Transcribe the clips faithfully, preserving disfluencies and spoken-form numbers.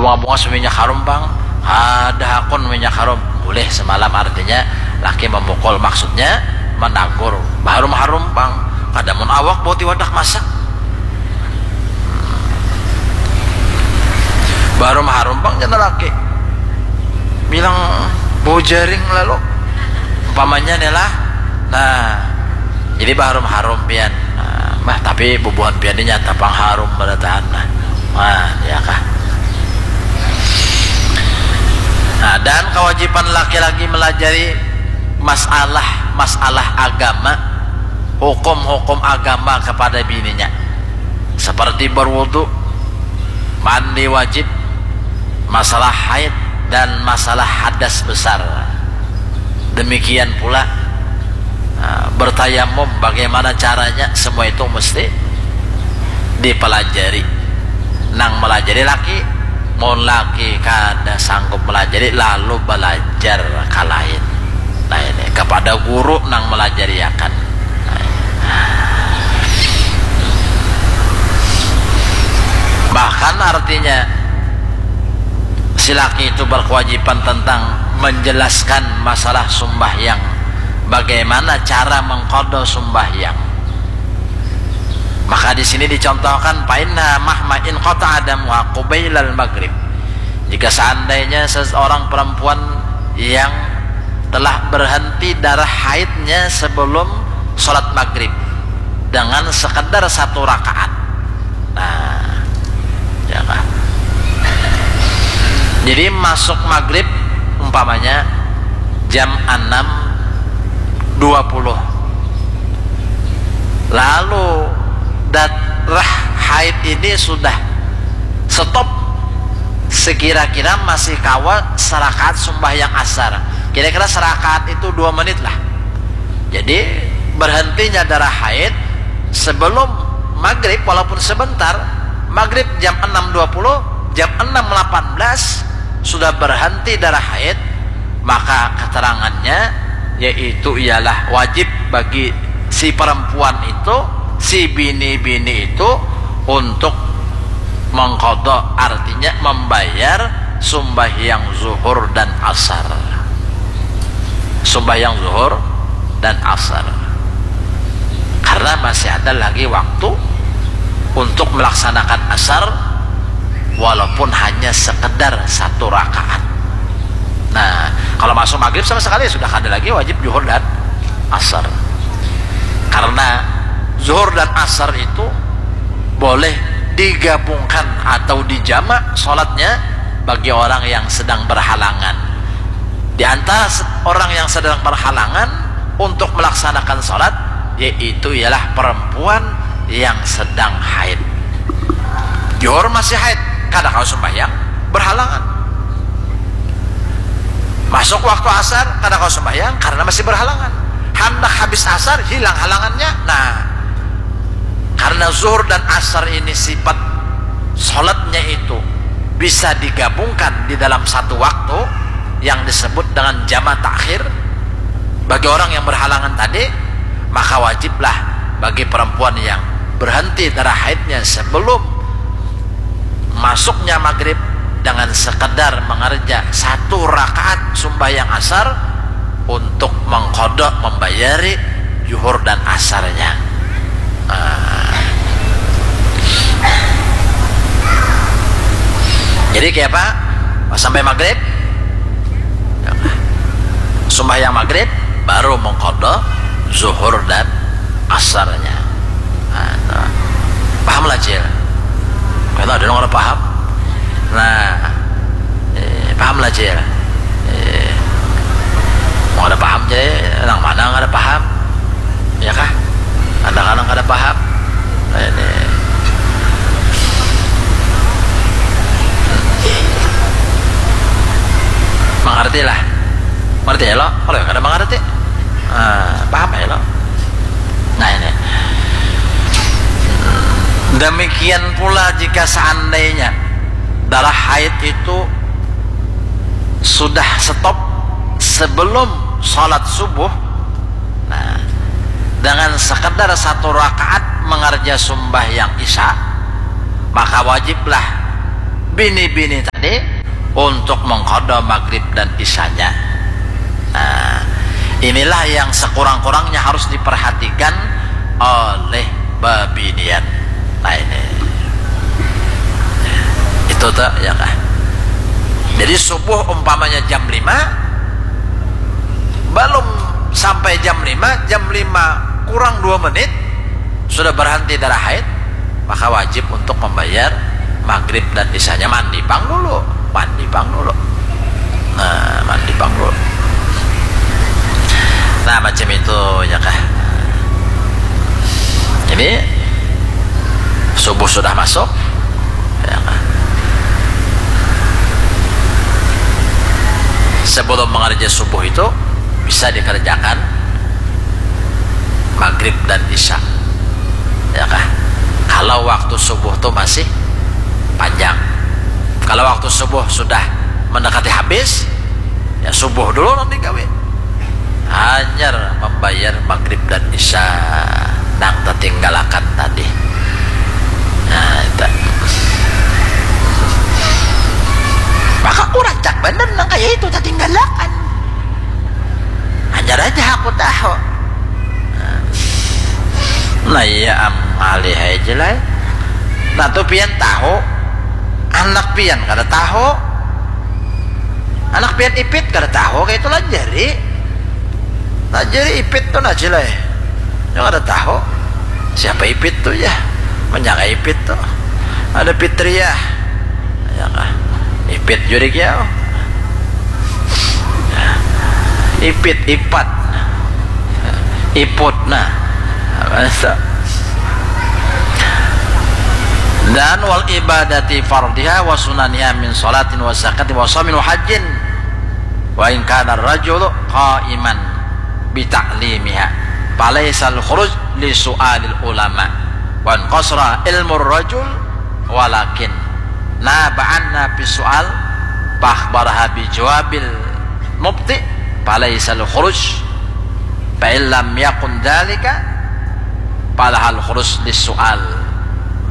Bunga-bunga seminyak harum pang, ada hakun minyak harum, boleh semalam, artinya laki memukul, maksudnya menagur, baharum-harum pang, kada mun awak bau tiwadak masak, baharum-harum pang jar laki, bilang bau jaring lalu, umpamanya nih lah, nah, jadi baharum-harum pian. Nah, mah, tapi bubuhan pian ini nyata pang harum barataan, nah. Nah, ya kah? Nah, dan kewajiban laki-laki melajari masalah-masalah agama, hukum-hukum agama kepada bininya, seperti berwudu, mandi wajib, masalah haid, dan masalah hadas besar. Demikian pula, ah, bertayamum, bagaimana caranya, semua itu mesti dipelajari. Nang melajari laki, mun laki kada sanggup melajari, lalu belajar ka lain. Nah, ini kepada guru nang melajariakan. Bahkan artinya, si laki itu berkewajiban tentang menjelaskan masalah sumbahyang, bagaimana cara mengqadha sumbahyang. Maka di sini dicontohkan, "Fa inna mahma in qata'a damuha qubailal maghrib." Jika seandainya seseorang perempuan yang telah berhenti darah haidnya sebelum sholat maghrib dengan sekedar satu rakaat. Nah, ya kah? Jadi masuk maghrib umpamanya jam enam dua puluh. Lalu darah haid ini sudah stop sekira-kira masih kawa serakaat sumbahyang asar. Kira-kira serakaat itu dua menit lah. Jadi berhentinya darah haid sebelum maghrib, walaupun sebentar, maghrib jam enam dua puluh, jam enam delapan belas sudah berhenti darah haid, maka keterangannya yaitu ialah wajib bagi si perempuan itu, si bini-bini itu untuk mengqadha, artinya membayar sumbahyang zuhur dan asar. Sumbahyang zuhur dan asar. Karena masih ada lagi waktu untuk melaksanakan asar walaupun hanya sekedar satu rakaat. Nah, kalau masuk maghrib sama sekali sudah kada lagi wajib zuhur dan asar. Karena zuhur dan asar itu boleh digabungkan atau dijamak sholatnya bagi orang yang sedang berhalangan. Di antara se- orang yang sedang berhalangan untuk melaksanakan sholat, yaitu ialah perempuan yang sedang haid. Zuhur masih haid, kada kawa sembahyang, berhalangan. Masuk waktu asar, kada kawa sembahyang karena masih berhalangan. Handak habis asar, hilang halangannya. Nah, karena zuhur dan asar ini sifat sholatnya itu bisa digabungkan di dalam satu waktu yang disebut dengan jama takhir bagi orang yang berhalangan tadi, maka wajiblah bagi perempuan yang berhenti darah haidnya sebelum masuknya maghrib dengan sekedar mengerja satu rakaat sumbahyang asar untuk mengkodok, membayari zuhur dan asarnya. Ah. Jadi kayak apa? Sampai maghrib, sumbahyang maghrib, baru mengkodok zuhur dan asarnya. Nah, paham lah, Cil? Kalau ada orang paham, nah, eh, paham lah, Cil? Eh, mau ada paham, Cil? Nang mana nggak ada paham? Ya kah? Anak-anak ada paham? Nah, ini. Mengerti lah. Mengerti ya lo? Kalau yang ada mengerti, ah, paham ya lo? Nah, ini. Demikian pula jika seandainya darah haid itu sudah stop sebelum sholat subuh, nah, dengan sekedar satu rakaat mengerja sumbahyang isya, maka wajiblah bini-bini tadi untuk mengkodok maghrib dan isanya. Nah, inilah yang sekurang-kurangnya harus diperhatikan oleh bebinian. Nah, ini itu tuh ya kah. Jadi subuh umpamanya jam lima, belum sampai jam lima, jam lima kurang dua menit sudah berhenti darah haid, maka wajib untuk membayar maghrib dan isanya. Mandi pang dulu, mandi pang dulu. Nah, mandi pang dulu. Nah, macam itu ya kah. Jadi subuh sudah masuk, ya kah. Sebelum mengerja subuh itu bisa dikerjakan maghrib dan isya, ya kah. Kalau waktu subuh tuh masih panjang. Kalau waktu subuh sudah mendekati habis, ya subuh dulu nanti gawe. Hanyar membayar maghrib dan isya nang tertinggalakan tadi. Nah, itu. Maka aku rancak bener nang kayak itu tertinggalakan. Hanyar aja aku tahu. Nah, iya am alih aja lah. Nah, tuh pian tahu, anak pian kada tahu. Anak pian Ipit kada tahu kayak itu lah jari. Lah jari Ipit tuh nah cilai. Yang ada tahu. Siapa Ipit tuh ya? Menyangka Ipit tuh. Ada Fitria. Ya kah? Ipit juri kiau. Ipit, Ipat. Iput nah. Dan wal ibadati fardiha wa sunaniha min salatin wa zakatin wa shamin wa hajjin. Wa in kana rajulu qaiman bi ta'limiha falaisal khuruj li su'alil ulama wa in qasra ilmu rajul walakin naba'an nabi su'al fakhbaraha bi jawabil mubti falaisal khuruj fa illam yakun dalika falahal khuruj li su'al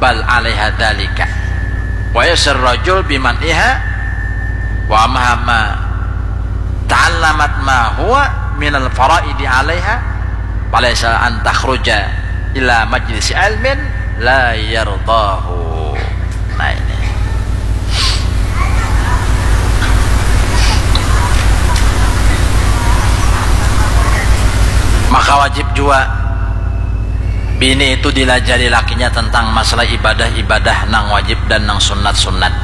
bal alaiha dalika wa yasir rajul biman iha wa mahama ta'allamat ma huwa minal faraidi alaiha falaisa an takhruja ila majlisi ilmin la yardahu. Nah ini. Maka wajib jua bini itu dilajari lakinya tentang masalah ibadah-ibadah nang wajib dan nang sunat-sunat,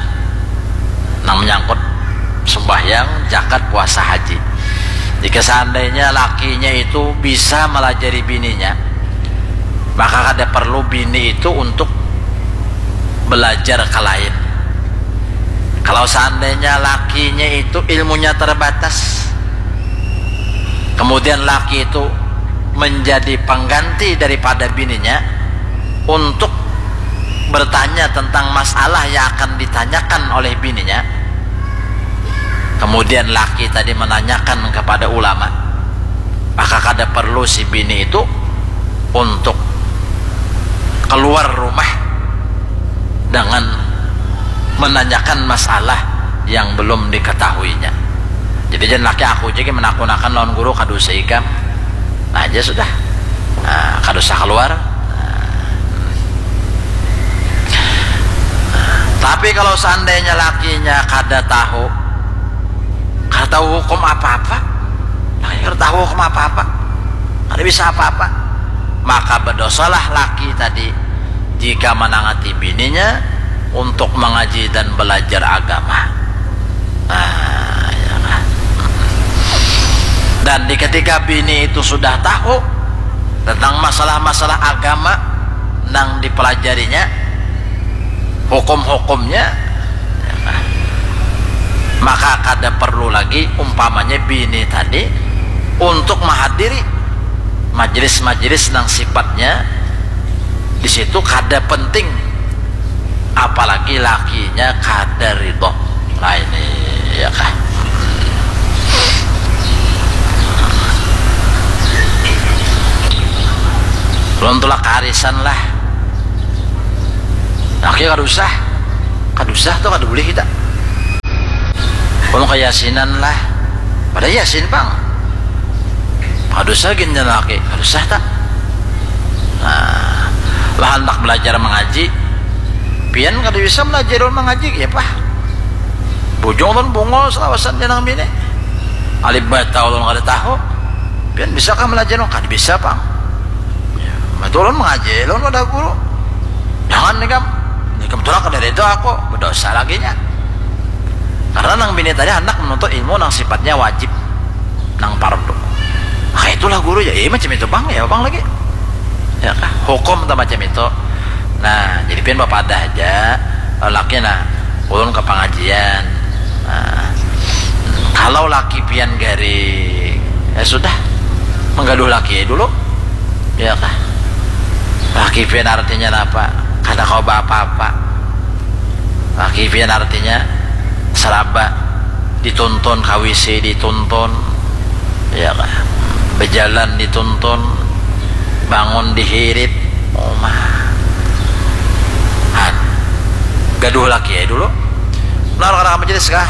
nang menyangkut sembahyang, zakat, puasa, haji. Jika seandainya lakinya itu bisa melajari bininya, maka kada perlu bini itu untuk belajar ke lain. Kalau seandainya lakinya itu ilmunya terbatas, kemudian laki itu menjadi pengganti daripada bininya untuk bertanya tentang masalah yang akan ditanyakan oleh bininya, kemudian laki tadi menanyakan kepada ulama, maka kada perlu si bini itu untuk keluar rumah dengan menanyakan masalah yang belum diketahuinya. Jadi jangan laki aku jadi menakun-nakun lawan guru, kada usah ikam. Nah, aja sudah. Nah, kada usah keluar. Nah. Tapi kalau seandainya lakinya kada tahu, kada tahu hukum apa-apa, lakinya kada tahu hukum apa-apa, kada bisa apa-apa, maka berdosalah laki tadi jika menangati bininya untuk mengaji dan belajar agama. Nah, ya. Dan di ketika bini itu sudah tahu tentang masalah-masalah agama nang dipelajarinya, hukum-hukumnya, maka kada perlu lagi umpamanya bini tadi untuk menghadiri majelis-majelis nang sifatnya di situ kada penting, apalagi lakinya kada ridho. Nah ini ya kah. Belum tulak arisan lah. Laki kada usah. Kada usah tu, kada bulih kita. Ulun kayasinan lah. Pada yasin pang. Kada usah gin jalaki, kada usah ta. Nah, lah handak balajar mangaji. Pian kada bisa malajari ulun mangaji, ya pah. Bujung ulun bungul salawasan jar nang bini. Alif bata ulun kada tahu. Pian bisa kah malajari ulun? Kada bisa pang. Ya, matu ulun mangaji ulun wadah guru. Jangan ikam. Ikam tu lah kada rida aku, badosa lagi nya. Karena nang bini tadi handak manuntut ilmu nang sifatnya wajib, nang pardu. Nah, itulah guru ya, iya macam itu pang, ya pang lagi. Ya kah? Hukum tu macam itu. Nah, jadi pian bapadah haja, laki nah, ulun ka pangajian. Nah, kalau laki pian garing, ya sudah, manggaduh laki dulu. Ya kah? Laki pian artinya napa? Kada kawa baapa-apa. Laki pian artinya saraba, dituntun, ka W C dituntun, ya kah? Bajalan dituntun, bangun dihirit. Uma. Han. Gaduh laki ai dulu. Nah, kada ka majelis kah?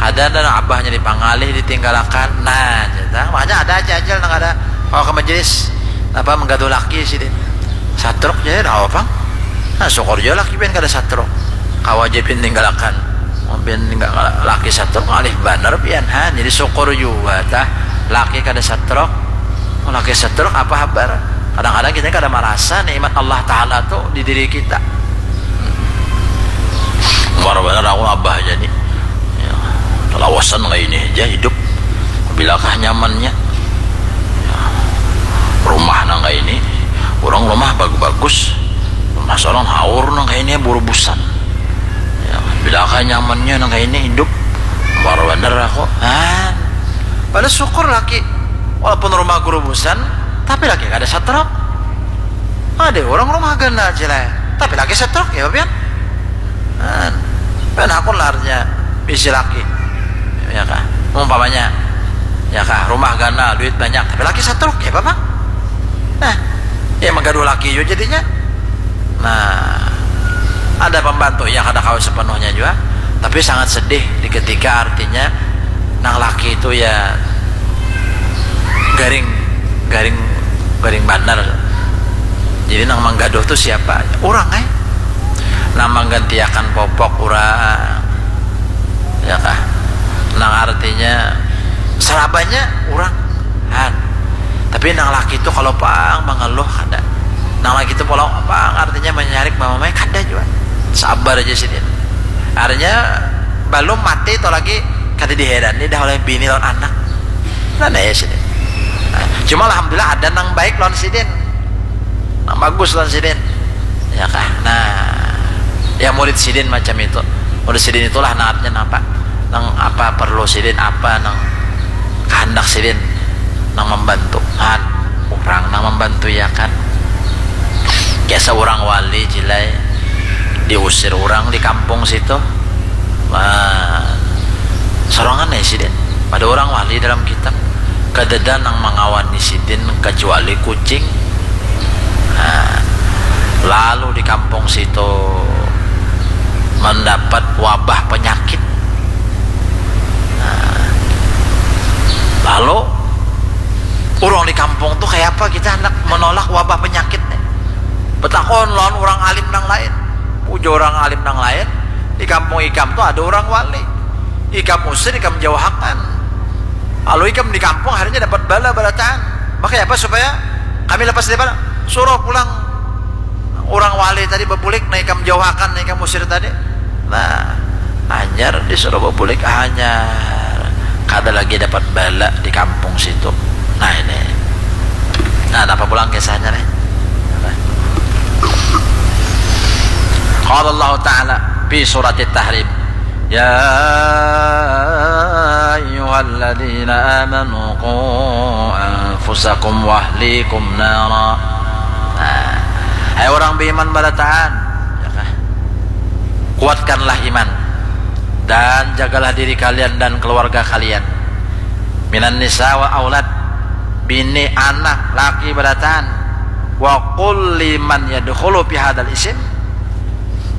Kada, ada abahnya dipangalih, ditinggalakan. Nah, jar ta. Makanya ada aja ajal nang kada kawa ka majelis. Napa, manggaduh laki sidin. Satruk ja, napa pang. Nah, syukur jua laki pian kada satruk. Kawa ja pian tinggalakan. Mun pian tinggal laki satruk, ngalih banar pian, ha. Jadi syukur jua tah laki kada satruk. Mun laki satruk, apa habar? Kadang-kadang kita kada marasa nikmat Allah Ta'ala tu di diri kita. Umar banar aku abah aja nih. Ya, talawasan kayak ini aja hidup. Bilakah nyamannya? Ya, rumah nang kayak ini, orang rumah bagus-bagus, rumah seorang haur nang kayak ini, burubusan. Ya, bilakah nyamannya nang kayak ini hidup? Umar banar aku. Ah, pada syukur laki, walaupun rumah gurubusan, tapi laki kada satruk. Ada orang rumah ganal cilai, tapi laki satruk, ya pian. Nah, pian hakun lah artinya bisi laki, ya kah? Umpamanya, ya kah, rumah ganal, duit banyak, tapi laki satruk, ya apa? Nah, ya manggaduh laki jua jadinya. Nah, ada pembantu, ya kada kawa sepenuhnya jua, tapi sangat sedih di ketika artinya nang laki itu ya garing, garing, garing banar. Jadi nang manggaduh tu siapa? Urang ai. Nang manggantiakan popok urang, ya kah? Nang artinya sarabanya urang, han. Tapi nang laki tu kalau pang mangaluh kada. Nang laki tu kalau pang artinya manyarik mamamai kada jua. Sabar aja sidin. Artinya balum mati tu lagi kada diherani dah oleh bini lawan anak. Nah, nah ya sidin. Nah, cuma alhamdulillah ada nang baik lawan sidin, nang bagus lawan sidin, ya kah? Nah, ya murid sidin macam itu. Murid sidin itulah nang artinya napa, nang apa perlu sidin, apa nang kahandak sidin, nang membantu, han, urang nang membantu, ya kan? Kayak seorang wali cilai diusir orang di kampung situ. Wah, sorangan ya sidin. Ada orang wali dalam kitab. Kadada nang mangawani sidin kecuali kucing. Nah, lalu di kampung situ mendapat wabah penyakit. Nah, lalu orang di kampung tuh kayak apa kita hendak menolak wabah penyakit nih? Betakon lawan orang alim nang lain. Ujar orang alim nang lain, di kampung ikam tuh ada orang wali. Ikam usir, ikam jauhakan. Lalu ikam di kampung akhirnya dapat bala balataan. Maka apa supaya kami lepas dari bala? Suruh pulang orang wali tadi bebulik, nah ikam jauhakan, nah ikam usir tadi. Nah, hanyar disuruh bebulik, hanyar. Kada lagi dapat bala di kampung situ. Nah, ini. Nah, apa pulang kisahnya nih? Qala Allah Ta'ala fi surati Tahrim. Ya ayyuhalladzina amanu qu anfusakum wa ahlikum nara. Nah, hai orang beriman barataan, ya kah? Kuatkanlah iman dan jagalah diri kalian dan keluarga kalian. Minan nisa wa aulad, bini, anak, laki barataan. Wa kulli man yadkhulu fi hadal isim,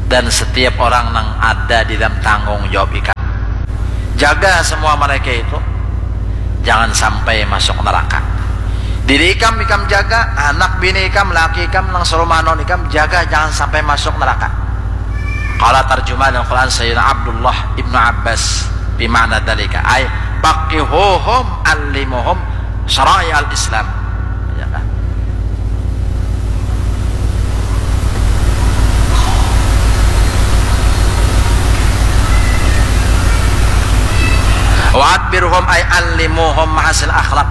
dan setiap orang nang ada di dalam tanggung jawab ikam. Jaga semua mereka itu, jangan sampai masuk neraka. Diri ikam, ikam jaga, anak bini ikam, laki ikam, nang serumahan lawan ikam, jaga jangan sampai masuk neraka. Qala, tarjumahan Al-Quran Sayyidina Abdullah ibnu Abbas, bima'na dalika, ay, faqihuhum, allimuhum syara'i al-Islam. Ya kan? Wa adbirhum, ay allimuhum mahasin akhlak.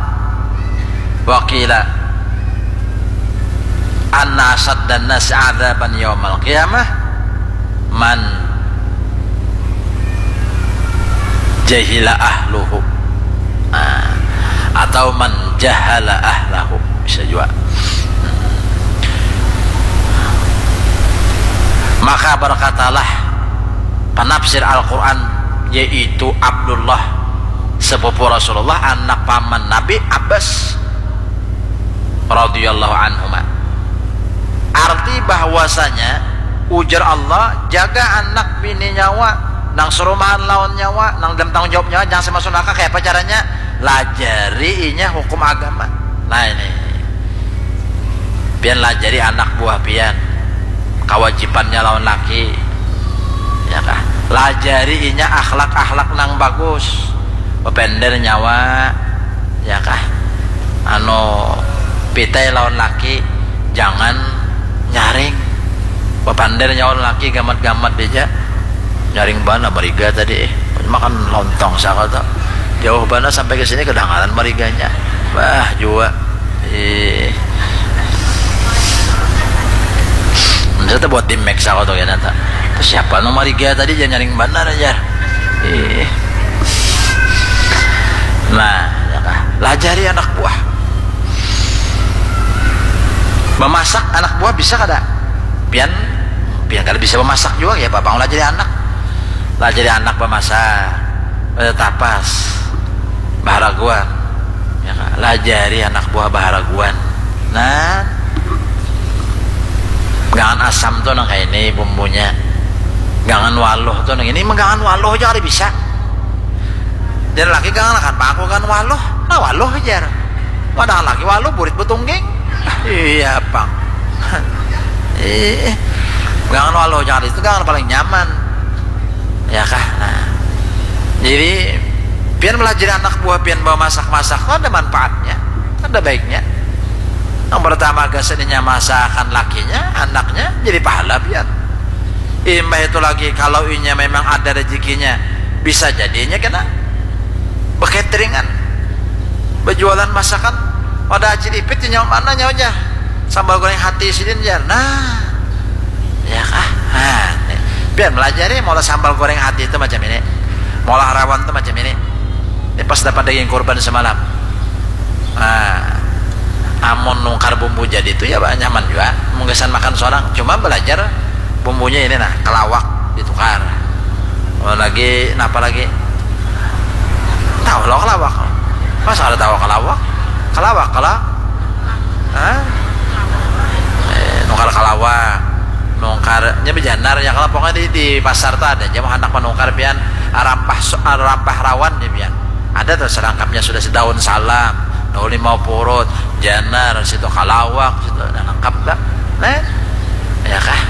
Wa qila, anna asyaddan nasi adzaban yaumal qiyamah man jahila ahluhu. Nah, atau man jahala ahlahu, bisa juga. Maka berkatalah penafsir Al-Quran, yaitu Abdullah, sepupu Rasulullah, anak paman Nabi, Abbas radhiyallahu anhuma. Arti bahwasanya, ujar Allah, jaga anak bini nyawa, nang serumahan lawan nyawa, nang dalam tanggung jawab nyawa, jangan sampai masuk neraka. Kayak apa caranya? Lajari inya hukum agama. Nah, ini. Pian lajari anak buah pian, kawajibannya lawan laki, ya kah? Lajari inya akhlak-akhlak nang bagus, bepender nyawa, ya kah? Anu, pitai lawan laki, jangan nyaring, bepander nyawa lawan laki, gamat-gamat dija. Nyaring bana mariga tadi, eh. Makan lontong saka tu. Jauh bana sampai ke sini kedengaran mariganya. Bah, jua. Eh. Masa tu buat di Max aku tu kena tak. Tu siapa nang mariga tadi, jangan nyaring bana aja. Eh. Nah, ya kah? Lajari anak buah. Memasak anak buah bisa kada? Pian, pian kada bisa memasak juga ya, apa lajari anak. Lajari anak bamasak, eh, tapas, baharaguan. Ya, lajari anak buah baharaguan. Nah, gangan asam tu nang kaini bumbunya. Gangan waluh tu nang ini, menggangan waluh aja kada bisa. Jar laki, gangan akan paku gangan waluh. Nah, waluh jar. Padahal laki waluh burit betungging. Iya, pang. Eh, gangan waluh, jangan itu gangan paling nyaman. Ya kah? Nah. Jadi, pian melajari anak buah pian bawa masak-masak, ada manfaatnya, ada baiknya. Yang pertama, gasan inya masakan lakinya, anaknya jadi pahala pian. Imbah itu lagi, kalau inya memang ada rezekinya, bisa jadinya kena bekateringan, berjualan masakan. Pada Haji Ipit, nyawa mana nyawa aja. Sambal goreng hati sidin jar. Nah, ya kah? Nah, nih. Biar melajari, maulah sambal goreng hati itu macam ini, maulah rawan itu macam ini. Ini pas dapat daging kurban semalam. Nah, amun nukar bumbu jadi itu ya, bah, nyaman juga. Mungkin makan seorang, cuma belajar bumbunya ini, nah, kelawak ditukar. Oh, lagi, napa lagi? Tahu lo kelawak? Masa ada tahu kelawak? Kelawak, kelawak. Hah? Eh, nukar kelawak. Nukar, nya bejanar ya, kalau pokoknya di, di pasar tuh ada aja, mau hendak menukar pian, rampah so-, rampah rawan ya pian. Ada tuh serangkapnya sudah, si daun salam, daun limau purut, janar, situ kalawak, situ, nah, lengkap dah. Nah, ya kah?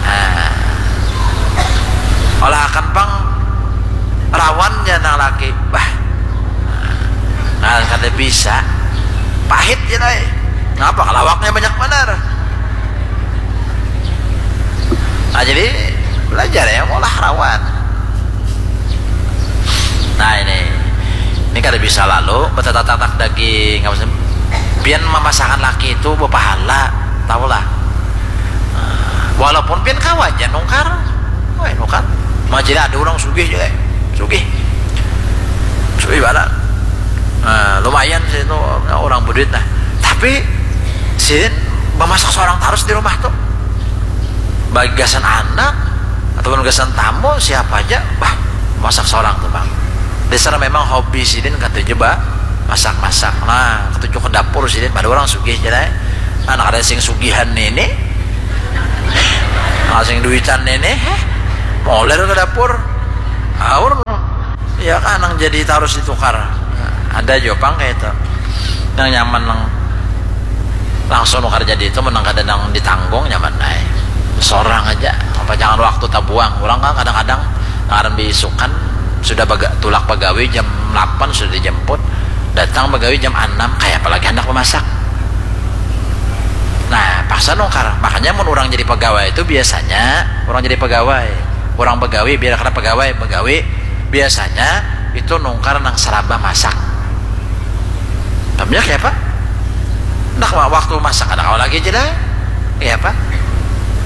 Nah. Olah akan pang rawannya nang laki. Bah. Nah, kada bisa. Pahit ya, dai. Ngapa kalawaknya banyak banar? Nah, jadi belajar ya, olah rawan. Nah, ini, ini kada bisa lalu betatatak daging, apa sih? Pian memasakan laki itu berpahala, tahulah. Nah, walaupun pian kawa aja nukar, wah, nukar. Majilah ada orang sugih juga, sugih, sugih bala. Nah, lumayan sih itu orang berduit, nah. Tapi sidin memasak seorang terus di rumah tuh. Bagi gasan anak ataupun gasan tamu, siapa aja, bah, masak seorang tuh, Bang. Dasar memang hobi sidin katuju, bah, masak-masak. Nah, katuju ke dapur sidin, pada orang sugih aja, nah. Anak ada sing sugihan ini. Asing duitan ini, heh, moler ke dapur, aur, ya kan, nang jadi tarus ditukar. Ada jua pang kayak itu. Yang nyaman nang langsung nukar jadi itu, menang kada nang ditanggung, nyaman naik. Sorang aja, apa jangan waktu tabuang. Orang kan kadang-kadang ngaran diisukan sudah baga, tulak pagawi jam delapan sudah dijemput, datang pagawi jam enam, kayak apalagi hendak memasak. Nah, paksa nukar. Makanya mun orang jadi pegawai itu biasanya orang jadi pegawai, orang begawi, biar kada pegawai, begawi, biasanya itu nukar nang seraba masak. Tapi ya apa? Nah, waktu masak ada kawa lagi aja dah. Ya apa?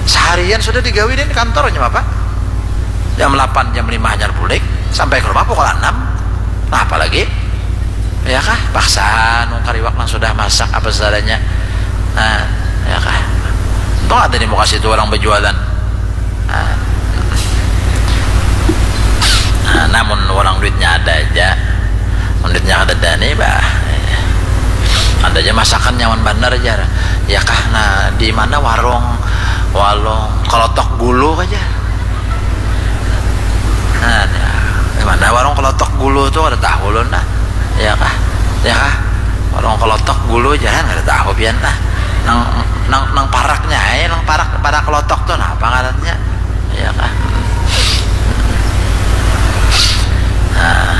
Seharian sudah digawi di kantornya apa? Jam delapan, jam lima hanyar bulik, sampai ke rumah pukul enam. Nah, apalagi? Ya kah? Paksa nukar iwak nang sudah masak apa seadanya. Nah, ya kah? Untung ada di muka situ orang berjualan. Nah, nah, namun orang duitnya ada aja. Mun duitnya ada, ada nih, bah. Ada aja masakan nyaman bandar aja. Ya kah? Nah, di mana warung, warung kelotok gulu aja. Nah, di mana warung kelotok gulu tuh, ada tahu lo nah. Ya kah? Ya kah? Warung kelotok gulu, jangan, ada tahu pian nah. Nang, nang, nang paraknya, eh, nang parak, parak kelotok tuh, nah, apa ngarannya? Ya kah? Nah.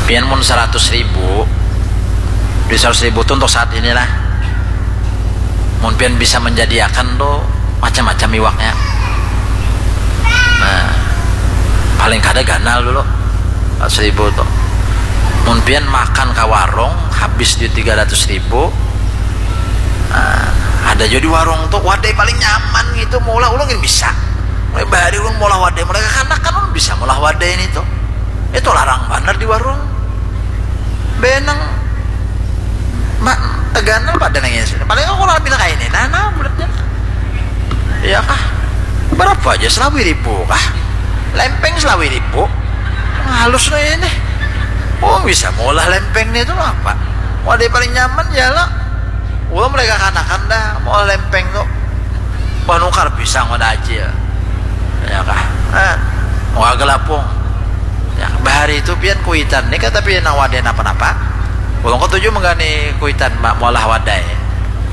Pian mun seratus ribu, di seratus ribu tuh untuk saat inilah. Mun pian bisa menjadiakan tuh macam-macam iwaknya. Nah, paling kada ganal dulu, empat ribu tuh. Mun pian makan ke warung, habis di tiga ratus ribu. Nah, ada juga di warung tuh, wadai paling nyaman gitu, maulah ulun gin bisa. Mulai bahari ulun maulah wadai, mulai kekanakan ulun bisa maulah wadai ini tuh. Itu larang banar di warung. Benang, mak, teganal pada nangis. Paling aku lah bilang kayak ini, nah, nah, bulatnya. Iya kah? Berapa aja, selawi ribu kah? Lempeng selawi ribu. Halus nih ini. Oh, bisa maulah lempeng nih tuh apa? Wadai paling nyaman ya lah. Ulun mulai kekanakan dah maulah lempeng tuh. Wah, nukar pisang pada acil. Ya kah? Eh, wah, gelapung. Ya, bahari itu pian kuitan nih, kata pian nang wadai napa-napa. Ulun ketuju menggani kuitan, ma-, maulah wadai.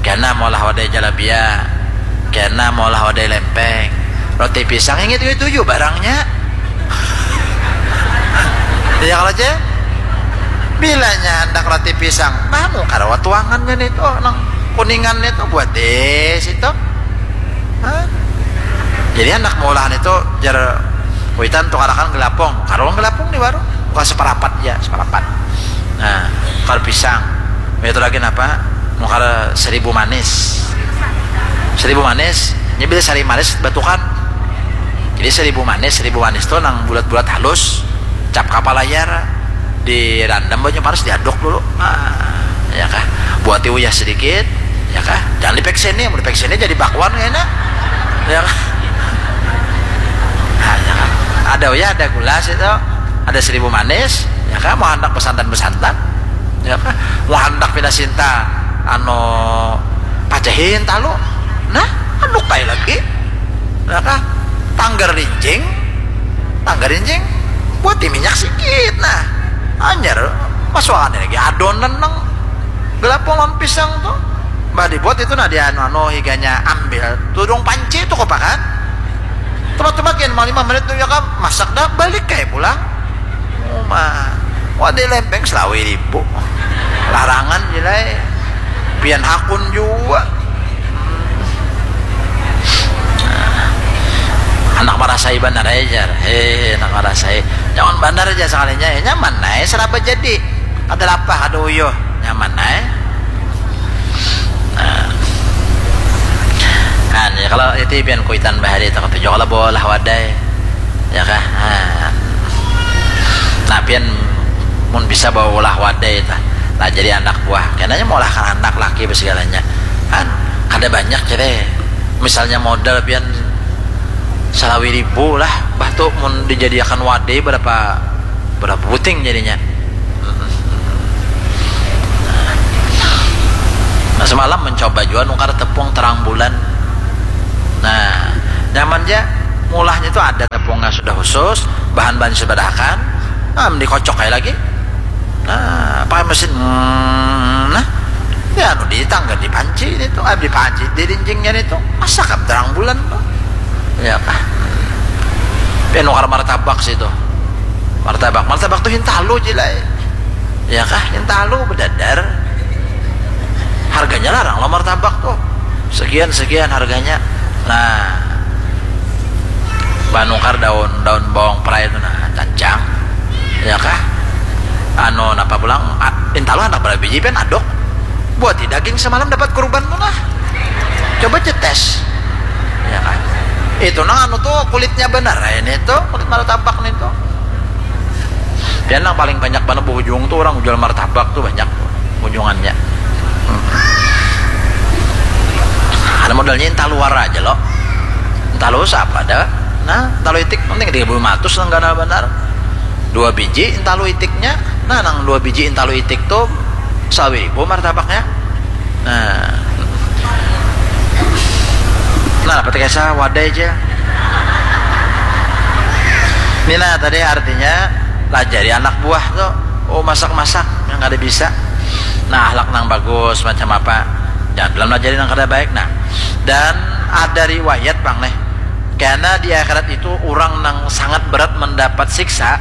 Kena maulah wadai jalabia. Kena maulah wadai lempeng. Roti pisang, ingat itu tuju barangnya. Iya kalau, Cek? Bilanya handak roti pisang, nah, nukar wa tuangannya nih tuh, nang kuningan nih tuh, buat di situ. Hah? Jadi handak maulah nih tuh, jar kuitan, tukarakan gelapung. Karuang gelapung di warung. Bukan separapat ya, separapat. Nah, nukar pisang. Itu lagi napa? Nukar seribu manis. Seribu manis, ini bila sari manis batukan. Jadi seribu manis, seribu manis tuh nang bulat-bulat halus, cap kapal layar, dirandam banyu panas, diaduk dulu. Ah, ya kah? Buati uyah sedikit, ya kah? Jangan dipekseni, mun dipekseni jadi bakwan kayaknya. Ya kah? Nah, ya kah? Ada uyah, ada gula situ, ada seribu manis, ya kah? Mau handak besantan-besantan, ya kah? Mau handak pina sinta, anu, pacahin talu. Nah, anu kai lagi. Ya kah? Tanggar rinjing, tanggar rinjing, buati minyak sikit, nah, hanyar masuakan lagi adonan nang gelapung lawan pisang tuh. Bah, dibuat itu, nah, di anu, anu, higanya ambil tudung panci tuh, kok, kan? Tepat-tepat gin, lima menit tuh, ya kan, masak dah, balik kayak pulang. Uma, wadai lempeng selawi ribu. Larangan jilai. Pian hakun jua. Anak marasai banar ai, jar. Heh, anak marasai. Nyaman banar aja sakalinya. Eh, nyaman ai, seraba jadi. Kada lapah, kada uyuh. Nyaman ai. Nah. Nah, ya, kalau itu pian kuitan bahari itu, katuju kalau bawa lah wadai. Ya kah? Nah. Nah, pian mun bisa bawa ulah wadai tah. Nah, jadi anak buah. Kenanya maulah kan anak laki bersegalanya. Kan kada banyak jadi. Misalnya modal pian salawi ribu lah, bah tuh mun dijadiakan wadai berapa, berapa buting jadinya. Semalam mencoba jua nukar tepung terang bulan. Nah, nyaman ja. Mulahnya tu ada tepungnya sudah khusus, bahan-bahan sudah badahakan, am dikocok ai lagi. Nah, pakai mesin, hmm, nah, ya anu di tangga di panci ni tu, ah, di panci di dindingnya ni tu, masak am terang bulan tu. Ya kah? Pian nukar martabak situ. Martabak, martabak tu hintalu jilai. Ya kah? Hintalu bedadar. Harganya larang lo martabak tu. Sekian sekian harganya. Nah, banukar daun daun bawang perai tu nah, cancang. Ya kah? Anu napa pulang? A-, intalu handak berapa biji pian aduk. Buati daging semalam dapat kurban tu nah. Coba cetes. Ya kan? Itu nang anu tu kulitnya benar ini tu, kulit martabak ni tu. Pian nang paling banyak banar buhujung tu orang jual martabak tu banyak buhujungannya. Hmm. Ada modalnya intalu wara aja lo. Intalu siapa ada? Nah, intalu itik penting tiga puluh lima ratus nang ganal banar. Dua biji intalu itiknya. Nah, nang dua biji intalu itik tu sawi ribu martabaknya. Nah. Nah, dapat kesa wadai aja. Ini nah tadi artinya lajari anak buah tu. Oh, masak-masak yang kada bisa. Nah, ahlak nang bagus macam apa? Jangan bilang lajari nang kada baik. Nah, dan ada riwayat pang nih. Karena di akhirat itu orang nang sangat berat mendapat siksa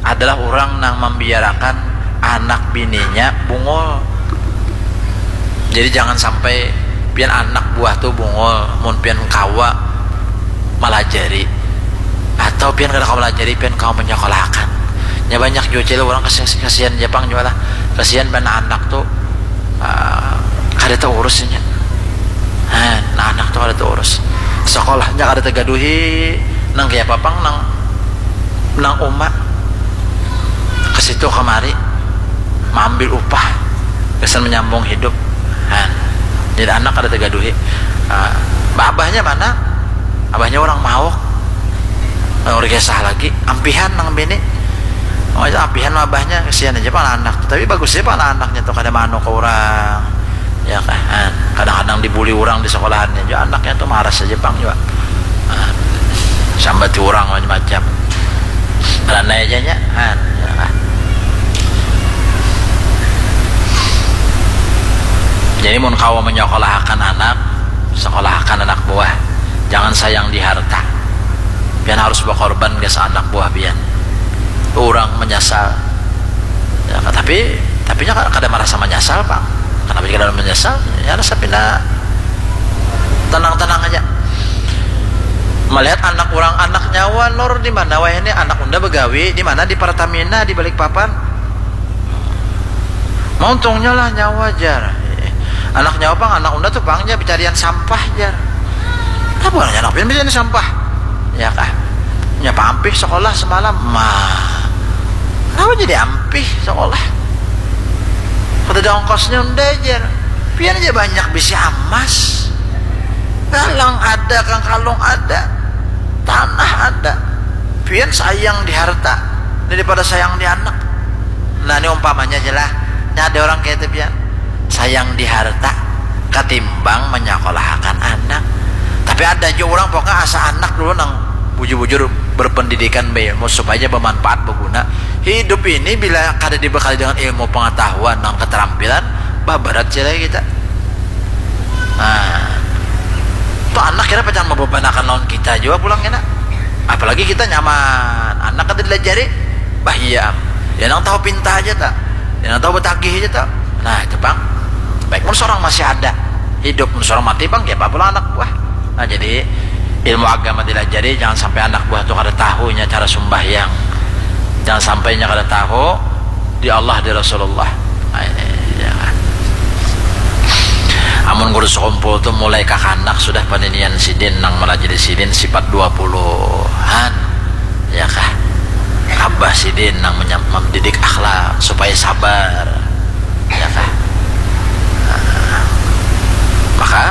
adalah orang nang membiarkan anak bininya bungul. Jadi jangan sampai pian anak buah tu bungul, mun pian kawa malajari atau pian kada kawa malajari, pian kawa menyokolahakan. Nya banyak jua cil orang kasihan, kasihan ja pang jua lah, kasihan pian anak tu, ah, kada taurus nya. Nah, anak tu kada taurus, sekolahnya kada tagaduhi, nang kaya apa pang nang nang uma ke situ kemari maambil upah gasan menyambung hidup. Nah, jadi anak kada tegaduhi. Ah, abahnya mana? Abahnya orang mauk. Orang kisah lagi, ampihan nang bini. Oh, itu ampihan abahnya, kesian aja pala anak. Tapi bagus aja pala anaknya tuh kada manu ke orang. Ya kan? Kadang-kadang dibuli orang di sekolahannya juga, anaknya tuh marah saja pang juga. Nah, sambati orang macam-macam. Ranai aja nya. Nah, ya kan? Jadi mun kawa menyokolahakan anak, sekolahakan anak buah. Jangan sayang di harta. Pian harus berkorban ke anak buah pian. Orang menyesal. Ya, tapi tapi nya kada merasa menyesal pang. Kenapa kada menyesal? Ya rasa pina tenang-tenang aja. Melihat anak orang, anak nyawa lor di mana wayah ini, anak unda begawi di mana, di Pertamina di Balikpapan. Mauntungnya lah nyawa jar. Anak nyawa pang, anak unda tuh pang jar, pencarian sampah jar. Apa anak pian pencarian sampah? Ya kah? Nya paampih sekolah semalam. Mah. Kenapa jadi ampih sekolah? Kada ada ongkosnya unda jar. Pian aja banyak bisi amas. Galang ada, kangkalung ada, tanah ada. Pian sayang di harta daripada sayang di anak. Nah, ini umpamanya aja lah. Ini ada orang kayak itu pian. Sayang di harta katimbang menyokolahakan anak. Tapi ada aja orang pokoknya asa anak dulu nang bujur-bujur berpendidikan, berilmu supaya bermanfaat, berguna. Hidup ini bila kada dibekali dengan ilmu pengetahuan dan keterampilan, babarat cilai kita. Nah, tuh anak kira pacan membebanakan lawan kita juga pulang kena. Apalagi kita nyaman, anak kada dilajari, bahia. Ya nang tahu pinta aja tak, ya nang tahu betagih aja tak. Nah itu pang. Baik mun seorang masih ada hidup, mun seorang mati pang, ya apa pulang anak buah. Nah jadi ilmu agama dilajari, jangan sampai anak buah tu kada tahunya cara sumbahyang, jangan sampainya kada tahu di Allah, di Rasulullah. Nah, ini, ya. Amun guru sekumpul tu mulai kakanak sudah paninian sidin nang melajari sidin sifat dua puluhan, ya kah? Abah sidin nang menyam- mendidik akhlak supaya sabar, ya kah? Nah, maka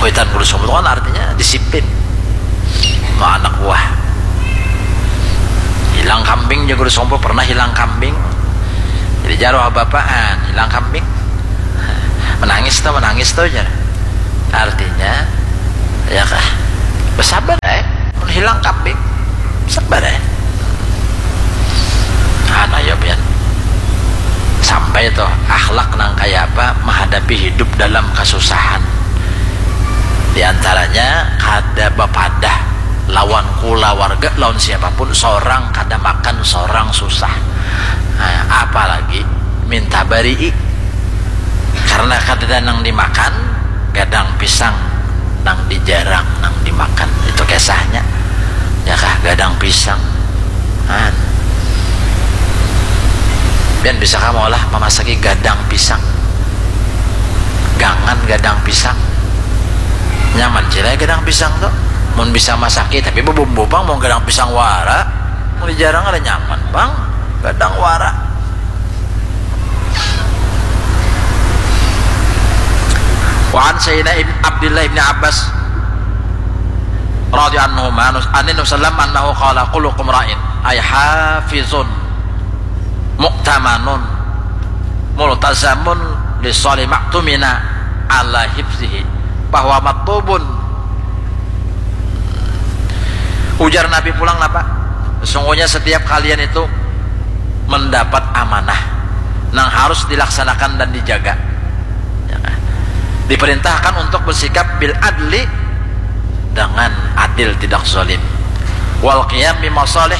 kuitan guru sekumpul kan artinya disiplin. Nah, anak buah hilang kambing, jagur sompo pernah hilang kambing. Jadi jaroh bapaan hilang kambing. Menangis tuh, menangis tuh, jar. Artinya, ya kah? Bersabar, eh. Mun hilang kambing, sabar, eh. Anu ya, pian. Sampai tuh akhlak nang kayak apa menghadapi hidup dalam kesusahan. Di antaranya kada bapadah lawan kulawarga, lawan siapapun, seorang kada makan, seorang susah. Nah, apalagi minta barii. Karena kadada nang dimakan, gadang pisang nang dijarang nang dimakan. Itu kisahnya. Ya kah, gadang pisang. Nah. Pian bisa kah maulah mamasaki gadang pisang? Gangan gadang pisang. Nyaman cilai gadang pisang tuh. Mun bisa masaki, tapi bebumbu pang, mau gadang pisang wara. Mun dijarang ada nyaman pang. Gadang wara. Wa an Sayyidina Ibn Abdullah ibn Abbas radhiyallahu anhu, anhu sallam annahu qala, "Kullukum ra'in," ay hafizun, mu'tamanun, multazamun, li soli maktumina ala hifzihi, bahwa maktubun. Ujar Nabi pulang napa? Sesungguhnya setiap kalian itu mendapat amanah nang harus dilaksanakan dan dijaga. Ya kan? Diperintahkan untuk bersikap bil adli, dengan adil, tidak zalim. Wal qiyam bima salih,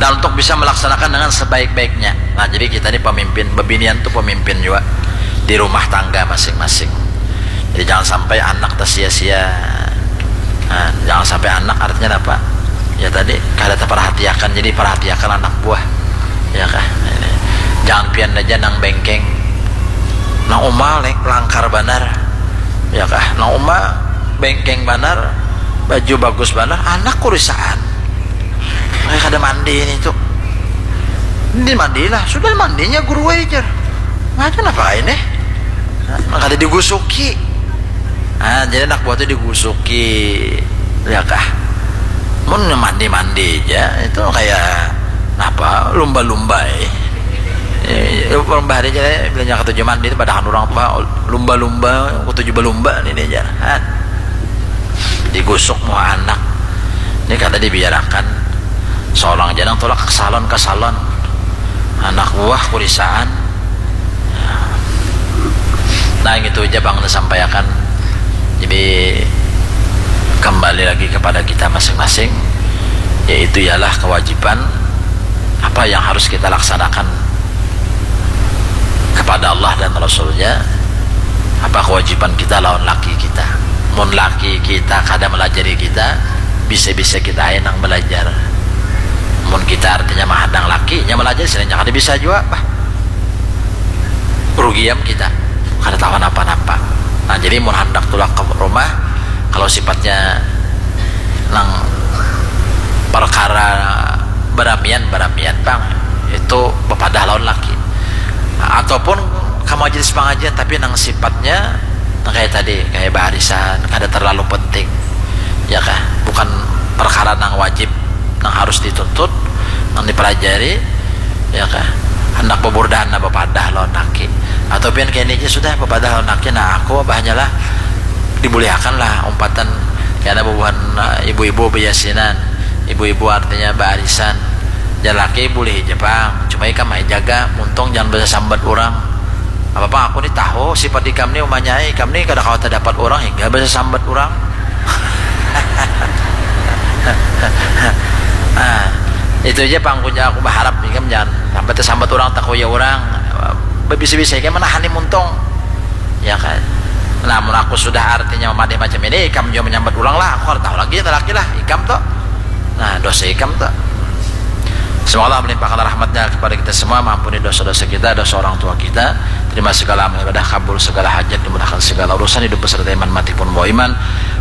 dan untuk bisa melaksanakan dengan sebaik-baiknya. Nah, jadi kita ini pemimpin, bebinian tuh pemimpin juga di rumah tangga masing-masing. Jadi jangan sampai anak tersia-sia. Nah, jangan sampai anak artinya apa? Ya tadi kada terperhatiakan, jadi perhatiakan anak buah. Ya kah? Ini. Jangan pian aja nang bengkeng. Nang uma langkar banar. Ya kah? Nang uma bengkeng banar, baju bagus banar, anak kurisaan. Kayak kada mandi ini tuh. Ini mandilah, sudah mandinya guru aja. Macam apa ini? Nah, kada digusuki. Nah, jadi anak buah tuh digusuki, ya kah? Mun mandi-mandi aja, itu kayak apa? Lumba-lumba, eh. Eh, lumba hari aja, eh, bilanya ketujuh mandi itu padahan orang tua, lumba-lumba, ketujuh belumba ini aja. Nah, digusuk muha anak. Ini kada dibiarakan. Seorang janang tulak ke salon, ke salon. Anak buah kurisaan. Nah, gitu aja bang disampaikan. Jadi kembali lagi kepada kita masing-masing, yaitu ialah kewajiban apa yang harus kita laksanakan kepada Allah dan Rasulnya, apa kewajiban kita lawan laki kita. Mun laki kita kada melajari kita, bisa-bisa kita aja nang belajar. Mun kita artinya mahadang laki, nya melajari, sering kada bisa juga, bah. Rugiam kita, kada tahu napa-napa. Nah, jadi mun handak tulak ke rumah, kalau sifatnya nang perkara beramian, beramian pang, itu bepadah lawan laki. Nah, ataupun ke majelis pengajian, tapi nang sifatnya nang kayak tadi, kayak barisan, kada terlalu penting, ya kah? Bukan perkara nang wajib, nang harus dituntut, nang dipelajari, ya kah? Handak beburdahan, nah, bepadah lawan laki. Atau pian kini aja sudah bepadah lawan laki, nah, aku abahnya lah, dibulihakan lah umpatan, karena bubuhan, eh, ibu-ibu beyasinan, ibu-ibu artinya baarisan. Jar laki, "Bulih aja pang, cuma ikam ai jaga, muntung jangan basasambat urang." Apa pang, aku ni tahu sifat ikam ni, umanya ai, ikam ni kada kawa tadapat urang hingga basasambat urang. Nah, itu aja pang, kunya aku baharap ikam jangan sampai tasambat urang, takuya urang. Babisa-bisa ikam manahani muntung. Ya kan? Nah, mun aku sudah artinya memadai macam ini, ikam jua menyambat ulang lah. Aku kada tahu lagi, laki lah, ikam tuh. Nah, dosa ikam tuh. Semoga Allah melimpahkan rahmatnya kepada kita semua, mengampuni dosa-dosa kita, dosa orang tua kita, terima segala amal ibadah, kabul segala hajat, dimudahkan segala urusan, hidup beserta iman, mati pun bawa iman,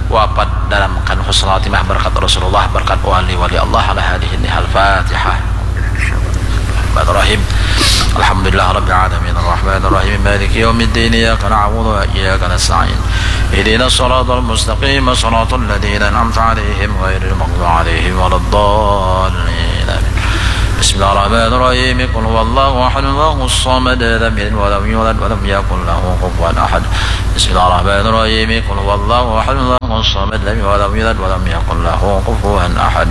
wafat dalam keadaan husnul khatimah, berkat Rasulullah, berkat wali-wali Allah, ala hadhihi nihal Fatihah. Bismillahirrahmanirrahim. Alhamdulillah Rabbil Alamin, Ar-Rahmanir Rahim, Maliki Yawmiddin, Iyyaka na'budu wa iyyaka nasta'in, Ihdinas siratal mustaqim, siratal ladzina an'amta 'alaihim, ghairil maghdubi 'alaihim waladdallin. Amin. بسم الله الرحمن الرحيم. قل هو الله أحد، الله الصمد، لم يلد ولم يولد ولم يكن له كفوا أحد. بسم الله الرحمن الرحيم. قل هو الله أحد، الله الصمد، لم يلد ولم يولد ولم يكن له كفوا أحد.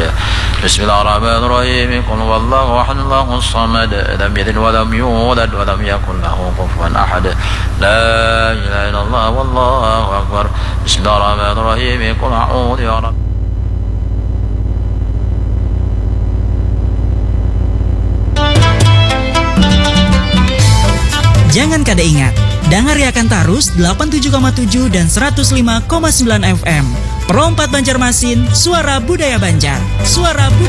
بسم الله الرحمن الرحيم. قل هو الله أحد، الله الصمد، لم يلد ولم يولد ولم يكن له كفوا أحد. لا إله إلا الله والله أكبر. بسم الله الرحمن الرحيم. قل أعوذ برب Jangan kada ingat, dangariakan tarus delapan tujuh koma tujuh dan seratus lima koma sembilan F M. Pro empat Banjarmasin, suara budaya Banjar. Suara budaya